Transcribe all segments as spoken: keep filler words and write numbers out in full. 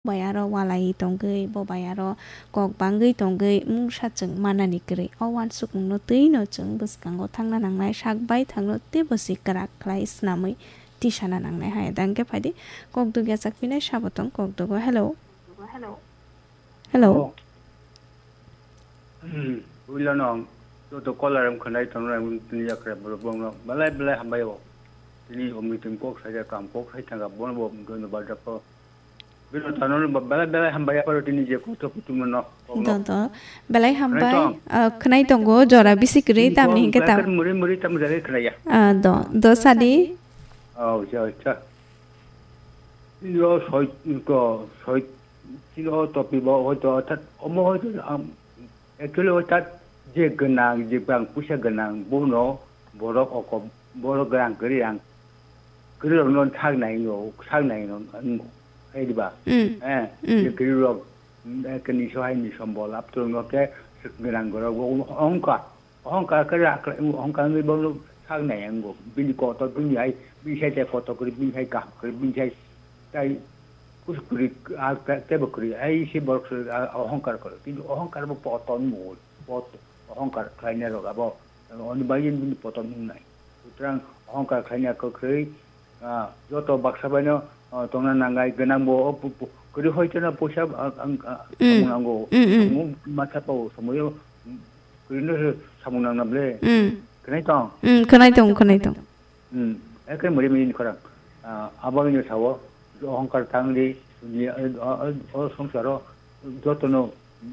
bai aro walai tongwi, bo bai aro kok bangwi tongwi mungsa chwng manani kwrwi. O uansukmungno twino chwng bwskango thangna nangnai, sak baithangno teibo se kwrak khlai swnamwi tisana nangnai hai. Da hwnkhe phaidi, kok dugya chakpinai sabo tong kok dugo. Hello. Hello. Oh. Hmm, puilano ang joto caller rok khwnai tongnai, ang tini yakre borok bongno belai belai hambai o. Tini o meeting kok saja, kam kok sai thangka, bono bo dhonyobad rwkha. Bino tano ba-, belai belai hambai aparo tini je kotho kutumno no. Do, do. Belai hambai. Khwnai tong? Ah, khwnai tongo, jora bisi kwrwi, tini tamni kok hwnkhe tam- belai muri muri tam jagwi khwnai ya. Ah, do, do sadi. Oh, acha, acha. Yo soi ko, soi Chini o topic bo hoito orthat omo hoito, um, actually orthat je gwnang, je bang puisa gwnang, bono borok oko, borok gwnang kwrwi ang kwrwi rokno sak nai o, sak nai no, ang hai diba? Mm. Eh, Mm. je kwrwi rok, mm, eh, kini so hai ni sombol, apto no ke gwnang gorok bo ongka. Ohongkar khe ra khlai, ohongkar wngwi bono sak nai ang go. Bini kotor bini hai, bini sai tei kotor kwrwi, bini sai kaham kwrwi, bini sai tai kusu kwrwi, ah, te-, teibo kwrwi. Ai se borok se, ah, ohongkar kwrwi. Kintu ohongkar bo poton mo, pot-, ohongkar khlainai rok abo, oni bagwi bini poton wngnai. Sutrang ohongkar khlaina kwrwi, Ah, joto baksa baino, ah, tongna nangai, gwnang bo, o pu-, pu-, kwrwi hoi kheno puisa, ah, ang, ah, Mm. samung nango. Mm, mm. Samung matha pao, samuyo, mm, kwrwino se samung nangna ble. Mm. Khwnai tong? Mm, khwnai tong, khwnai tong. Mm, ekhe muri muri ni khorang. Ah, abangino sao, ohongkar tangdi, dunia, eh, o, o, o songsaro, jotono, mm,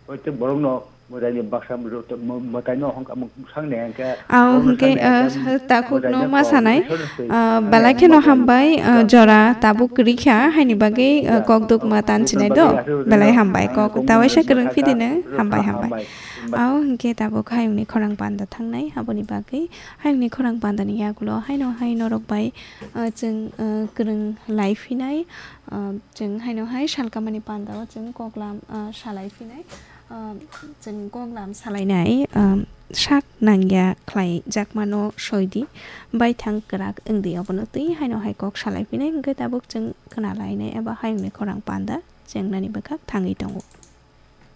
Protek borokno mwtaini baksa mwtaino hwnkha, mwsang ni hwnkhe, ah, borokno hwnkhe, sang ni hwnkhe, ah, takhukno mwtaino ma sanai, kok, ah, belai kheno hambai, ah, jora tabuk kwrwi kha, haini bagwi, ah, kok duk ma tan sinai do, belai hambai, kok tawaisa kwrwng phidi nw, hambai, hambai. Ah, hwnkhe tabuk hayungni khorang panda thangnai, aboni bagwi hayungni khorang panda ni yagulo haino hai norok bai, ah, chwng, ah, kwrwng lai phinai, ah, Chwng haino hai salkamani pandao chwng koklam, ah, salai phinai, ah, chwng koklam salainai, ah, sak nangya khlai jakmano soidi, baithang kwrak wngdi, obono twi haino hai kok salai phinai, hwnkhe tabuk chwng khna lainai eba hayungni khorang panda chengnani bwkhak thangwi tongo.